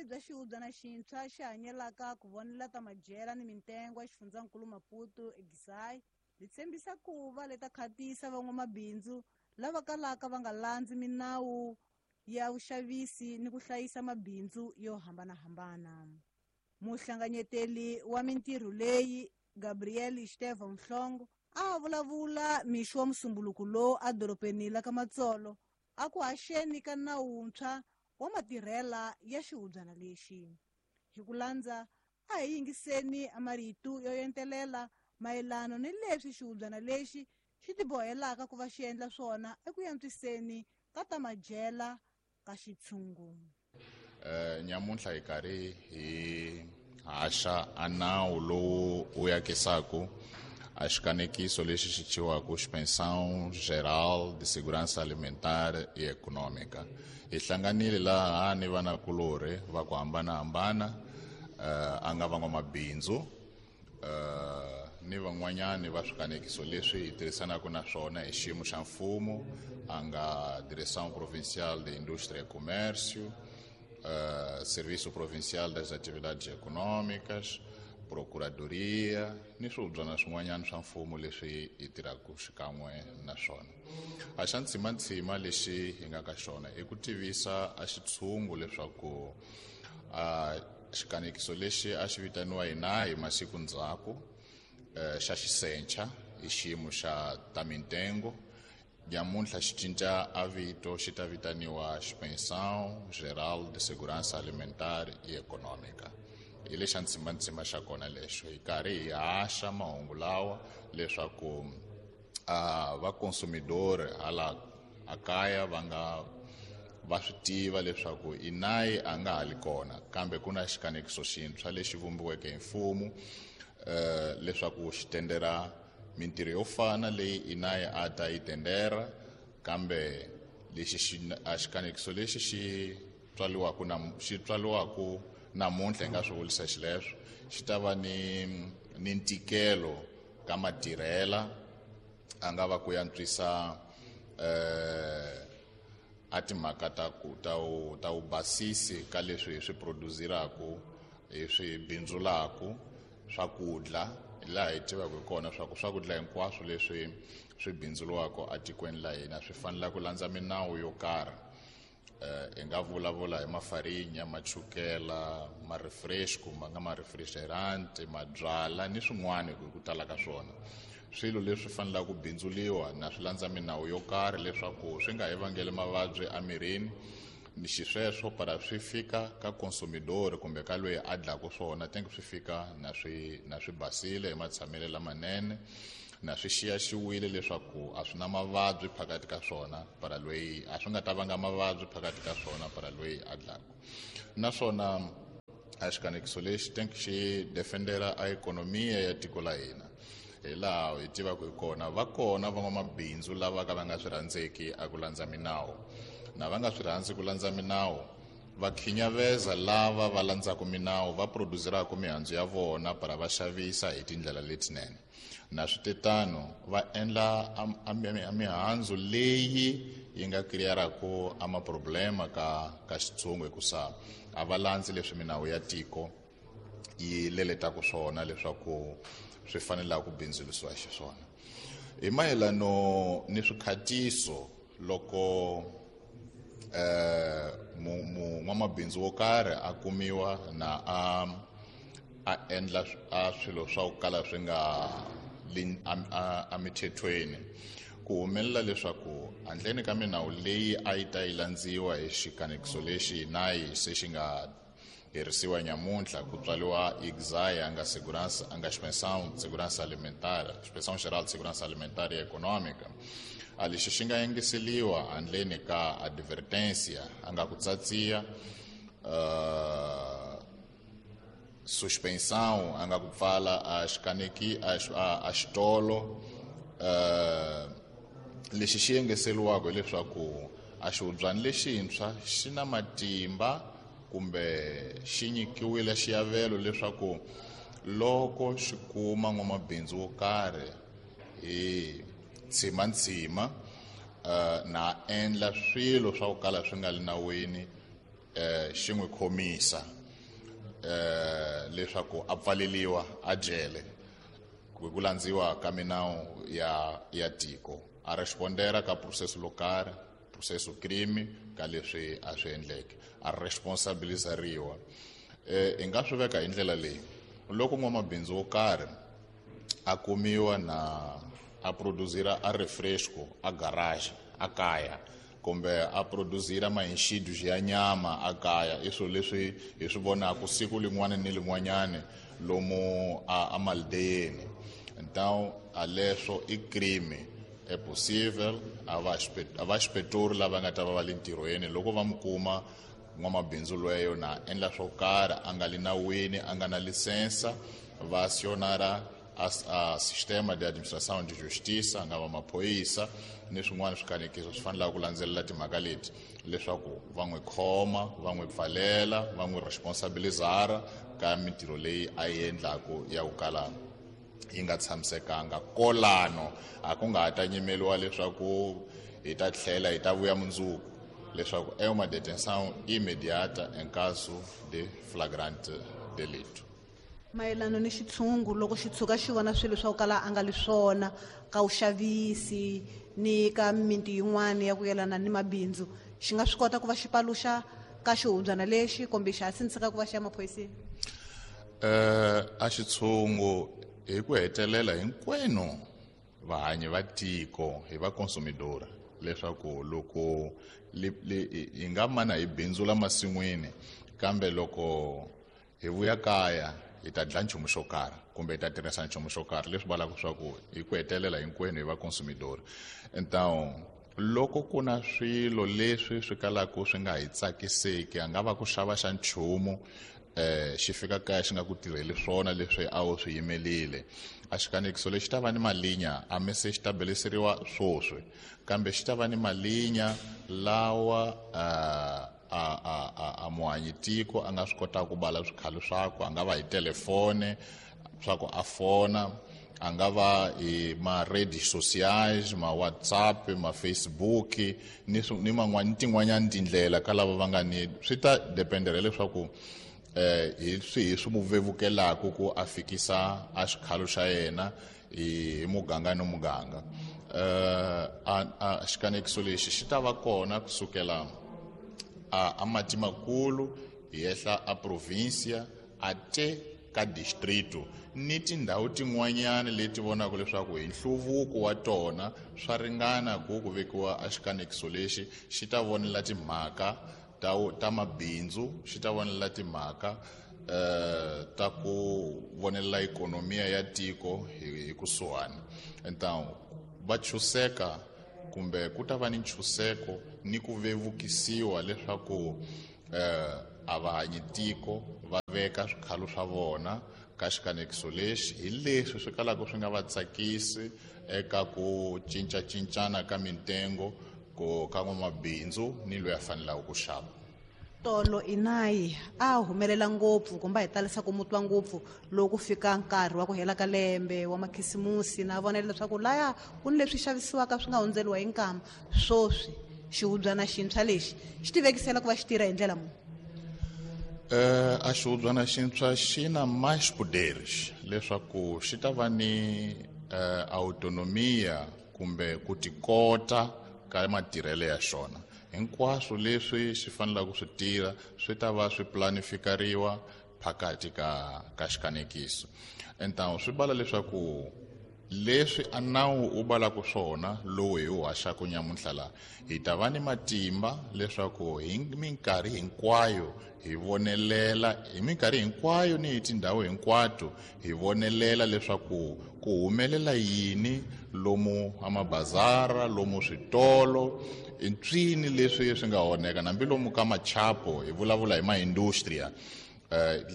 Vurhangeri bya xihubyana xintshwa xi hanyelaka ku vonela ta madyela ni mintengo ya xifundzankulu Maputo eGisai byi tshembisa ku va leta khatisa van'wamabindzu lava kalaka va nga landzi minawu ya vuxavisi ni ku hlayisa mabindzu yo hambanahambana. Muhlanganyeteli wa mintirho leyi Gabriel Estevão Mhlongo a vulavula mixo wa musumbuluku lowu edorobeni la ka Matsolo a ku haxeni ka nawu wuntshwa wa matirhela ya xihubyana lexi. Hi ku landza a hi yingiseni marito yo entelela mayelana ni leswi xihubyana lexi xi tibohelaka ku va xi endla swona eku antswiseni ka ta madyela ka xitshungu. Nyamuntlha hi karhi hi haxa a nawu lowu wu yakisaku a xikanekiso lexi xi thyiwaka Inspeção Geral de Segurança Alimentar e Econômica. Hi hlanganile laha ni vanakulorhi va ku hambanahambana, a nga van'wamabindzu, ni van'wanyani va swikanekiso leswi hi tirhisanaka na swona hi xiyimo xa mfumo, a nga Direção Provincial de Indústria e Comércio, Serviço Provincial das Atividades Econômicas, Procuradoria ni swihubyana swin'wanyana swa mfumo leswi hi tirhaka xikan'we na swona. A xa ntsimantsima lexi hi nga ka xona i ku tivisa a xitshungu leswaku a xikanekiso lexi a xi vitaniwa hina hi masiku ndzhaku, xa xisencha hi xiyimo xa ta mintengo, nyamuntlha xi cinca a vito xi ta vitaniwa Inspeção Geral de Segurança Alimentar e Econômica. Hi lexa ntsimantsima xa kona lexo, hi karhi hi haxa mahungu lawa leswaku a va consumidor hala a kaya va nga va swi tiva leswaku inayi a nga ha li kona, kambe ku na xikanekiso xintshwa lexi vumbiweke hi mfumo, leswaku xi tendera mintirho yo fana leyi inayi a ta yi tendera, kambe lexi xi a xikanekiso lexi xi tswaliwaka na xi tswaliwaka namuntlha hi nga swi vurisa xileswo, xi ta va ni ntikelo ka matirhela, a nga va ku antswisa, a timhaka ta ku ta u ta u basisi ka leswi hi swi produziraku, hi swi bindzulaku swakudya, laha hi tivaka hi kona swa ku swakudya hinkwaswo leswi swi bindzuriwaka etikweni la hina swi fanele ku landza minawu yo karhi. Hi nga vulavula hi mafarinya, machukela, ma-refresco, ma nga ma-refrigerant, mabyala ni swin'wana hi ku tala ka swona. Swilo leswi fanelaka ku bindzuriwa na swi landza minawu yo karhi leswaku swi nga hi vangeli mavabyi emirini, ni xisweswo para swi fika ka consumidor kumbe ka loyi a dlaka swona, tenke swi fika na swi basile hi matshamelo lamanene, na swi xiyaxiwile leswaku a swi na mavabyi phakathi ka swona para loyi a swi nga ta vanga mavabyi phakathi ka swona para loyi a dlaka. Naswona a xikanekiso lexi tenke xi defendera a ikhonomiya ya tiko la hina, hi laha hi tivaka hi kona va kona van'wamabindzu lava ka va nga swi rhandzeki a ku landza minawu, na va nga swi rhandzi ku landza minawu va khinyaveza lava va landzaka minawu, va produzeraka mihandzu ya vona para va xavisa hi tindlela letinene. Na switetano va endla a mihandzu leyi yi nga crearaka a maproblema ka xitshungu, hikusa a va landzi leswi minawu ya tiko yi leletaka swona leswaku swi fanelaka ku bindzurisiwa xiswona. Hi mayelano ni swikhatiso, loko n'wamabindzu wo karhi a kumiwa na a endla a swilo swa ku kala swi nga li emithethweni, ku humelela leswaku handleni ka minawu leyi a yi ta yi landziwa hi xikanekiso lexi nayi se xi nga herisiwa nyamuntlha, ku tswariwa IGSAI, a nga segurança, a nga Inspeção de Segurança Alimentar, Inspeção Geral de Segurança Alimentar e Econômica, a lexi xi nga yengiseliwa handleni ka advertência, a nga ku tsatsiya, suspensão, a nga ku pfala a xikaneki a xitolo, lexi xi yengeseliwaka hileswaku a xihubyani lexintshwa xi na matimba kumbe xi nyikiwile xiavelo leswaku loko xi kuma n'wamabindzu wo karhi hi tsimantsima, na endla swilo swa ku kala swi nga li nawini, xi n'wi khomisa leswaku a pfaleliwa a jele ku landziwa ka minawu ya tiko a respondera ka processo lokarhi processo crime ka leswi a swi endleke a responsabilizariwa. Hi nga swi veka hi ndlela leyi loko n'wamabindzu wo karhi a kumiwa na a producira a refresco a garage a kaya kumbe a producira maenxido ya nyama a kaya i swilo leswi hi swi vonaka siku lin'wana ni lin'wanyani lomu a maldeyeni. Então a leswo i crime é possível a va inspetor lava nga ta va va le ntirhweni loko va mi kuma n'wamabindzu lweyo na endla swo karhi a nga li nawini a nga na lisensa va acionara a sistema de administração de justiça nga va maphorisa ni swin'wana swikanekiso swi fanelaka ku landzelela timhaka leti leswaku va n'wi khoma va n'wi pfalela va n'wi responsabilizara ka mintirho leyi a yi endlaku ya ku kala yi nga tshamisekanga. Kolano a ku nga ha ta nyimeliwa leswaku hi ta tlhela hi ta vuya mundzuku leswaku é uma detenção imediata em caso de flagrante delito. Mayelana ni xitshungu loko xi tshuka xi vona swilo swa ku kala a nga li swona ka vuxavisi ni ka mimiti yin'wana ya ku yelana ni mabindzu xi nga swi kota ku va xi paluxa ka xihubyana lexi kumbe xa sindziseka ku va xi ya maphoriseni? A xitshungu hi ku hetelela hinkwenu vahanyi va tiko hi va consumidora leswaku loko hi nga mana hi bindzula masin'wini kambe loko hi vuya kaya hi ta dlaya nchumu xo karhi kumbe hi ta tirhisa nchumu xo karhi leswi vulaka leswaku hi ku hetelela hinkwenu hi va consumidor. Então loko ku na swilo leswi swi kalaka swi nga hi tsakiseki a nga va ku xava xa nchumu xi fika kaya xi nga ku tirheli swona leswi a wu swi yimelile a xikanekiso lexi ta va ni malinya a mi se xi ta beleseriwa swoswi kambe xi ta va ni malinya lawa a muhanyi tiko a nga swi kotaka ku bala swikhalo swakwe a nga va hi telefone swa ku a fona a nga va hi ma-redes sociais ma WhatsApp ma Facebook ni man'wani tin'wanyani tindlela ka lava va nga ni swi ta dependera leswaku hi swihi swi mu vevukelaku ku a fikisa a xikhalo xa yena hi muganga ni muganga. A xikanekiso lexi xi ta va kona kusukela a mati makulu hi ehla a provincia a te ka distrito ni tindhawu tin'wanyani leti vonaka leswaku hi nhluvuko wa tona swa ringana ku vekiwa a xikanekiso lexi xi ta vonela timhaka ta mabindzu xi ta vonela timhaka ta ku vonelela ikonomiya ya tiko hi kusuhani. Então va chuseka kumbe ku ta va ni nchuseko ni ku vevukisiwa leswaku a va hanyi tiko va veka swikhalo swa vona ka xikanekiso lexi hi leswi swi kalaka swi nga va tsakisi eka ku cincacincana ka mintengo ku ka n'wamabindzu ni loyi a fanelaka ku xava. Tolo inayi a humelela ngopfu kumbe hi talisa ku mutwa ngopfu loko fika nkarhi wa ku hela ka lembe wa makhisimusi na vonela leswaku laya ku ni leswi xavisiwaka swi nga hundzeriwa hi nkama swoswi xihubyana xintshwa lexi xi tivekisela ku va xi tirha hi ndlela muni? A xihubyana xintshwa xi na mais poderes leswaku xi ta va ni autonomia kumbe ku tikota ka matirhelo ya xona. Hinkwaswo leswi xi fanelaka ku swi tirha swi ta va swi planifikariwa phakathi ka xikanekiso. Então swi bala leswaku leswi a nawu wu balaka swona lowu hi wu haxaka nyamuntlha laha hi ta va ni matimba leswaku hi minkarhi hinkwayo hi vonelela hi minkarhi hinkwayo ni hi tindhawu hinkwato hi vonelela leswaku ku humelela yini lomu amabazara lomu switolo ntswini leswi swi nga onheka hambi lomu ka machapo hi vulavula hi maindustria.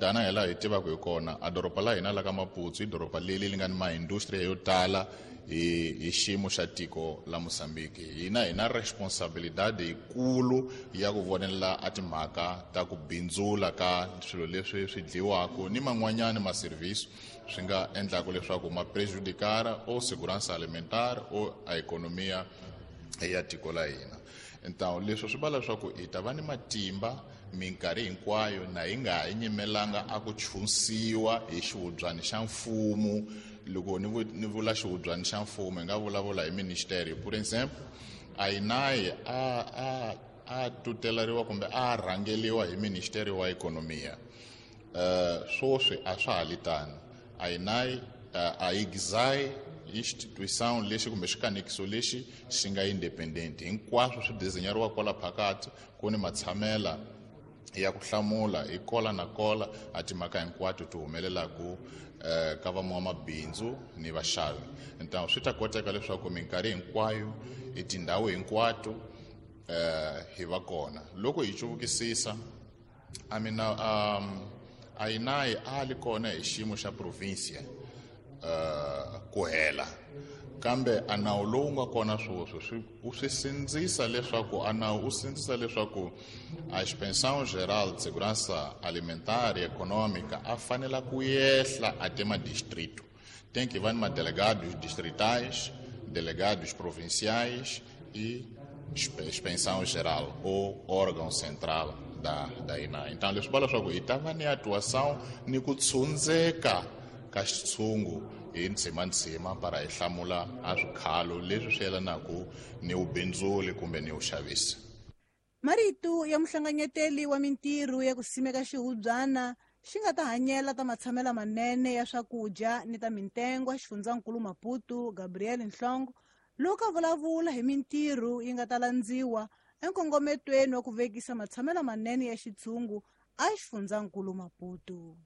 Tana hi laha hi tivaka hi kona a doroba la hina la ka Maputo i doroba leri li nga ni maindustria yo tala hi xiyimo xa tiko la Mozambique. Hina hi na responsabilidade yikulu ya ku vonelela a timhaka ta ku bindzula ka swilo leswi swi dliwaka ni man'wanyani ma-service swi nga endlaka leswaku ma prejudicara o segurança alimentar o a ekonomia ya tiko la hina. Então leswi swi vula leswaku hi ta va ni matimba Minkarhi hinkwayo na yi nga ha nyimelanga a ku chunsiwa hi xihubyani xa mfumo. Loko ni vula xihubyani xa mfumo, hi nga vulavula hi ministeri. Por exemple, a INAI a tuteleriwa kumbe a rhangeliwa hi ministeri wa ekonomiya. Swoswi a swa ha li tano. A INAI, a IGSAI instituição lexi kumbe xikanekiso lexi xi nga independent, hinkwaswo swi desenyariwa kwala phakathi. Ku ni matshamela ya ku hlamula hi kola na kola a timhaka hinkwato ti humelelaku ka van'wamabindzu ni vaxavi. Então swi ta koteka leswaku minkarhi hinkwayo hi tindhawu hinkwato hi va kona. Loko hi cuvukisisa amina, a INAI a li kona hi xiyimo xa provincia ku hela, kambe a nawu lowu nga kona sweswi swi swi sindzisa leswaku a nawu u sindzisa leswaku a Inspeção Geral de Segurança Alimentar e Econômica a fanela ku yehla até madistrito. Tem que va ni madelegados distritais, delegados provinciais e inspeção geral ou órgão central da INAI. Então leswi vula leswaku hi ta va ni atuação ni ku tshundzeka ka xitshungu hi ndzima para hi hlamula a swikhalo leswi swi yelanaka ni vubindzuli kumbe ni vuxavisi. Marito ya muhlanganyeteli wa mintirho ya ku simeka xihubyana xi nga ta hanyela ta matshamelo manene ya swakudya ni ta mintengwa xifundzankulu Maputo, Gabriel Nhlongo, loko a vulavula hi mintirho yi nga ta landziwa enkongometweni wa ku vekisa matshamelo manene ya xitshungu a xifundzankulu Maputo.